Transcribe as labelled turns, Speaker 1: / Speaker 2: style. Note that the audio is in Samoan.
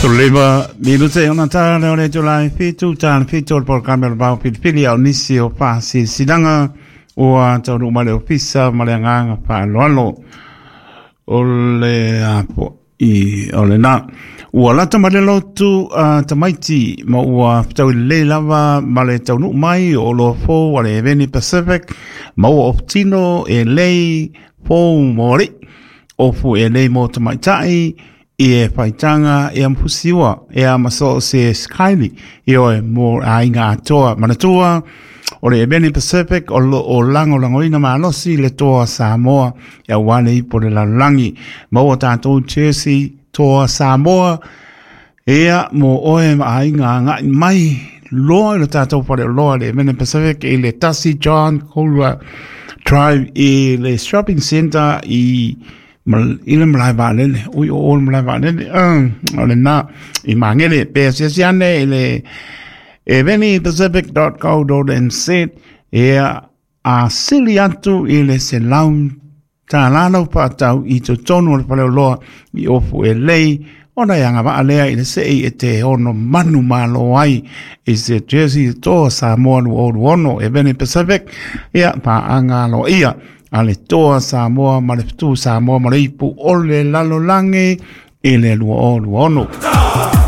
Speaker 1: Lima minute ona tā leo le tula e whitu, tā le whitu o le polokalame o le vao filifili a o nisi o whaasisilaga ua taunuu mai le ofisa ma le agaga faaaloalo o le apo i o lena. Ua lata mai le lotu a tamaiti ma ua fetaui lelei lava ma le taunuu mai o oloa fou a le Eveni Pacific ma ua ofutino e lei fou mo alii, ofu e lei mo tamaitai, i e faitaga e amfusiua e a ma so se skyli i oe mo aiga atoa. Manatua o le Eveni Pacific o lo o lagolagoina malosi le Toa Samoa e aua le ipu o le lalolagi. Maua tatou jersey Toa Samoa ia mo oe ma aiga agai mai loa i le tatou faleoloa le Eveni Pacific i le 1 John Kohler Drive i le shopping center i i le malae vaalele, ui o o le malae vaalele, o lena i Magele, pe asiasi ane i le evenipacific.co.nz ia a sili atu i le $100 lau faatau i totonu o le faleoloa i ofu e lei, ona e agavaa lea i le sei e te ono manu malo ai i se jersey Toa Samoa 2026 Eveni Pacific, ia paaga aloaia a le Toa Samoa ma le Fetu Samoa ma le Ipu o le Lalolagi i le 2026.